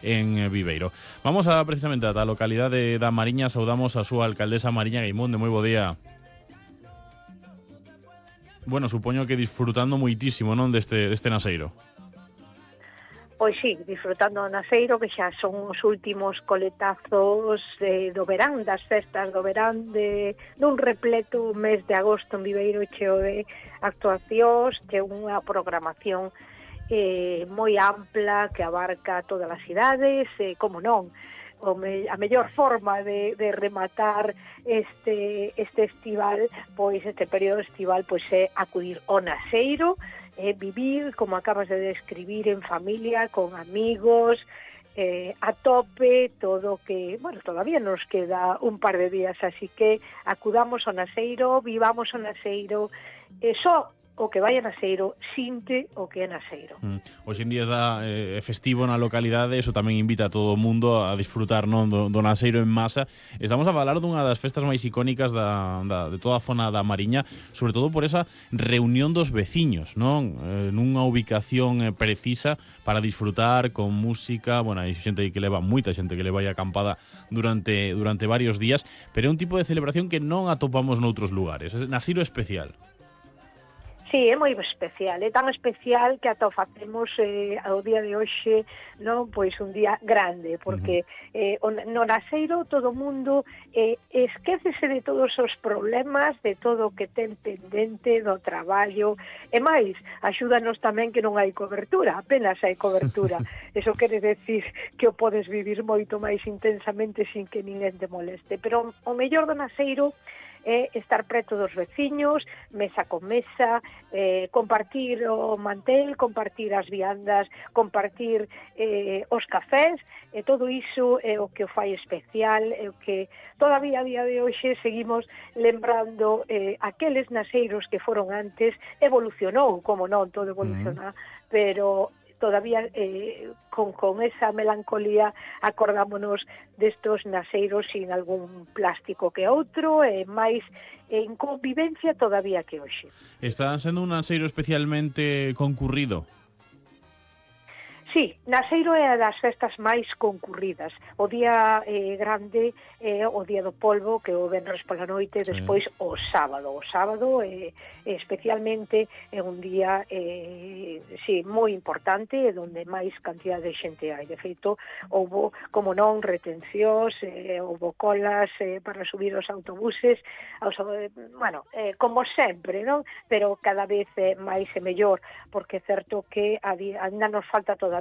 en Viveiro. Vamos a precisamente a localidade da Mariña, saudamos a súa alcaldesa Mariña Gaimonde. Moi bo día. Bueno, supoño que disfrutando moitísimo, non, deste naseiro. Pois sí, disfrutando do naseiro, que xa son os últimos coletazos do verán, das festas do verán, dun repleto mes de agosto en Viveiro, cheo de actuacións, cheo unha programación moi ampla que abarca todas as cidades, como non, a mellor forma de rematar este estival, pois este período estival, pois é acudir ao naseiro, vivir, como acabas de describir, en familia, con amigos, a tope, todo que, bueno, todavía nos queda un par de días, así que acudamos ao naseiro, vivamos o naseiro, só o que vai a naseiro sinte o que é naseiro. Hoxe en día é festivo na localidade, eso tamén invita a todo o mundo a disfrutar, non, do naseiro en masa. Estamos a falar dunha das festas máis icónicas de toda a zona da Mariña, sobre todo por esa reunión dos veciños, non? Nunha ubicación precisa para disfrutar con música. Bueno, hai xente que leva, moita xente que leva aí acampada durante varios días, pero é un tipo de celebración que non atopamos noutros lugares. É naseiro especial. Sí, é moi especial, é tan especial que ata o facemos ao día de hoxe, non, pois un día grande, porque no naseiro todo o mundo esquécese de todos os problemas, de todo o que ten pendente do traballo, e máis, axúdanos tamén que non hai cobertura, apenas hai cobertura. Eso quere decir que o podes vivir moito máis intensamente sin que ninguén te moleste, pero o mellor do naseiro é estar preto dos veciños, mesa con mesa, compartir o mantel, compartir as viandas, compartir os cafés, e todo iso é o que o fai especial, é o que todavía a día de hoxe seguimos lembrando aqueles naseiros que foron antes. Evolucionou, como non, todo evoluciona, pero todavía con esa melancolía acordámonos destos naseiros sin algún plástico que outro, e máis en convivencia todavía que hoxe. Está sendo un naseiro especialmente concurrido? Sí, naseiro é a das festas máis concurridas. O día grande é o día do polvo, que o venres pola noite, despois o sábado. O sábado especialmente é un día moi importante, onde máis cantidad de xente hai. De feito, houbo, como non, retencións, houbo colas para subir os autobuses, como sempre, non? Pero cada vez máis e mellor, porque é certo que ainda nos falta todavía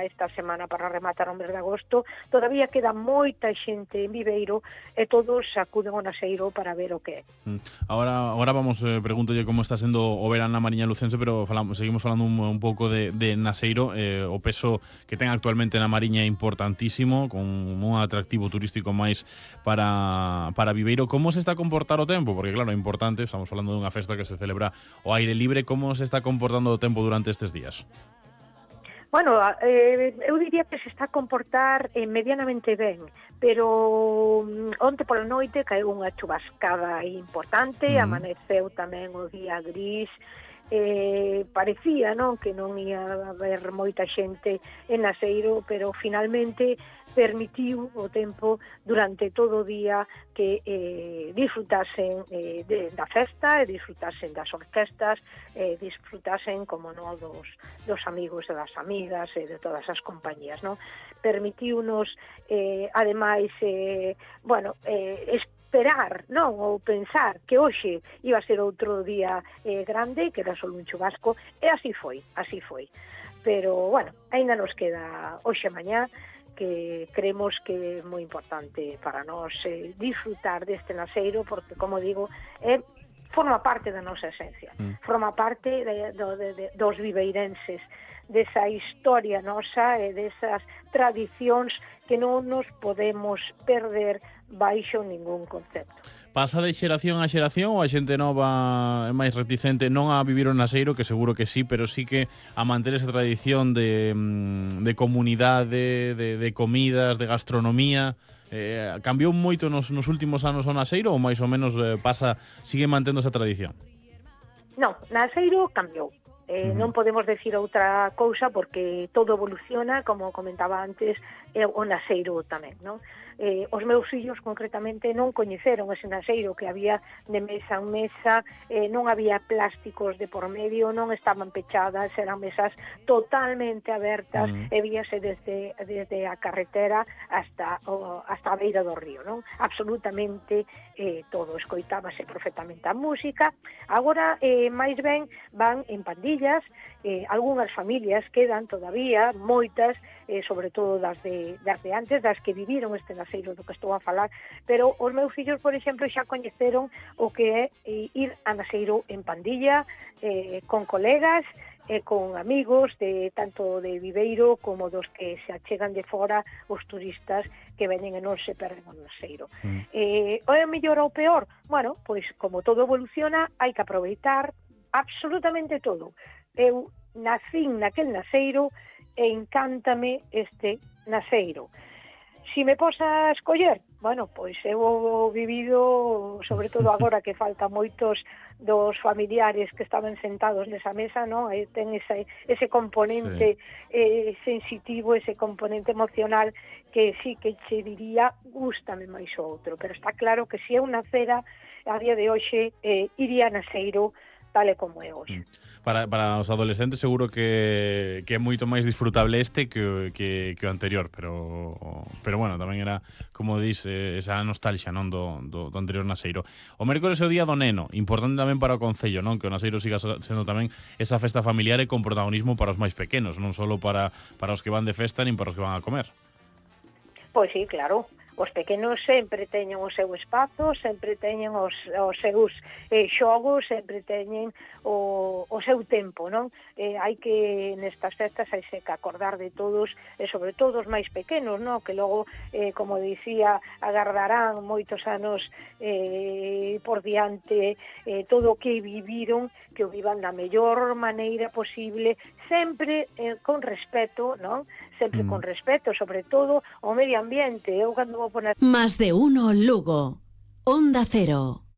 esta semana para rematar o mes de agosto, todavía queda moita xente en Viveiro e todos acuden ao naseiro para ver o que é. Ahora vamos, pregúntolle como está sendo o verán na Mariña Lucense, pero seguimos falando un pouco de naseiro. O peso que ten actualmente na Mariña é importantísimo, con un atractivo turístico máis para Viveiro. Como se está a comportar o tempo? Porque claro, é importante, estamos falando dunha festa que se celebra ao aire libre. Como se está comportando o tempo durante estes días? Bueno, eu diría que se está a comportar medianamente ben, pero onte pola noite caeu unha chubascada importante, amaneceu tamén o día gris, parecía, non, que non ia haber moita xente en naseiro, pero finalmente permitiu o tempo durante todo o día que disfrutasen da festa, e disfrutasen das orquestas, disfrutasen, como non, dos amigos e das amigas e de todas as compañías, non? Permitiunos, ademais, esperar, non, ou pensar que hoxe iba a ser outro día grande, que era só un chubasco, e así foi. Pero, bueno, aínda nos queda hoxe e mañá, que creemos que é moi importante para nós disfrutar deste naseiro, porque, como digo, forma parte da nosa esencia, forma parte dos viveirenses, desa historia nosa e desas tradicións que non nos podemos perder baixo ningún concepto. Pasa de xeración a xeración ou a xente nova é máis reticente non a vivir o naseiro, que seguro que sí, pero sí que a manter esa tradición de comunidade, de comidas, de gastronomía? Cambiou moito nos últimos anos o naseiro ou máis ou menos sigue mantendo esa tradición? Non, naseiro cambiou. Non podemos decir outra cousa porque todo evoluciona, como comentaba antes, o naseiro tamén, non? Os meus fillos concretamente non coñeceron ese naseiro que había de mesa en mesa, non había plásticos de por medio, non estaban pechadas, eran mesas totalmente abertas e víase desde a carretera hasta a beira do río, non? Absolutamente todo, escoitábase perfectamente a música. Agora, máis ben, van en pandillas, algunhas familias quedan todavía, moitas, sobre todo das de antes, das que viviron este naseiro do que estou a falar, pero os meus fillos, por exemplo, xa coñeceron o que é ir a naseiro en pandilla, con colegas, con amigos tanto de Viveiro como dos que se achegan de fora, os turistas que veñen e non se perden o naseiro. O é mellor ou peor? Bueno, pois como todo evoluciona, hai que aproveitar absolutamente todo. Eu nacín naquel naseiro e encántame este naseiro. Si me posa a escoller, bueno, pois eu vivido, sobre todo agora que falta moitos dos familiares que estaban sentados nesa mesa, non? Ten ese componente sensitivo, ese componente emocional que sí que che diría gústame máis o outro, pero está claro que se eu nacera a día de hoxe iría a naseiro tal e como é hoxe. Para os adolescentes seguro que é moito máis disfrutable este que o anterior, pero bueno, tamén era, como dis, esa nostalgia, non, do anterior naseiro. O mércores é o día do neno, importante tamén para o concello, non, que o naseiro siga sendo tamén esa festa familiar e con protagonismo para os máis pequenos, non só para os que van de festa nin para os que van a comer. Pois sí, claro. Os pequenos sempre teñen o seu espazo, sempre teñen os seus xogos, sempre teñen o seu tempo, non? Hai que, nestas festas, hai que acordar de todos, e sobre todo os máis pequenos, non? Que logo, como dicía, agardarán moitos anos por diante, todo o que viviron, que o vivan da mellor maneira posible, sempre con respeto, non? Sempre con respeto, sobre todo, ao medio ambiente. Eu cando vou poner... Más de uno Lugo. Onda Cero.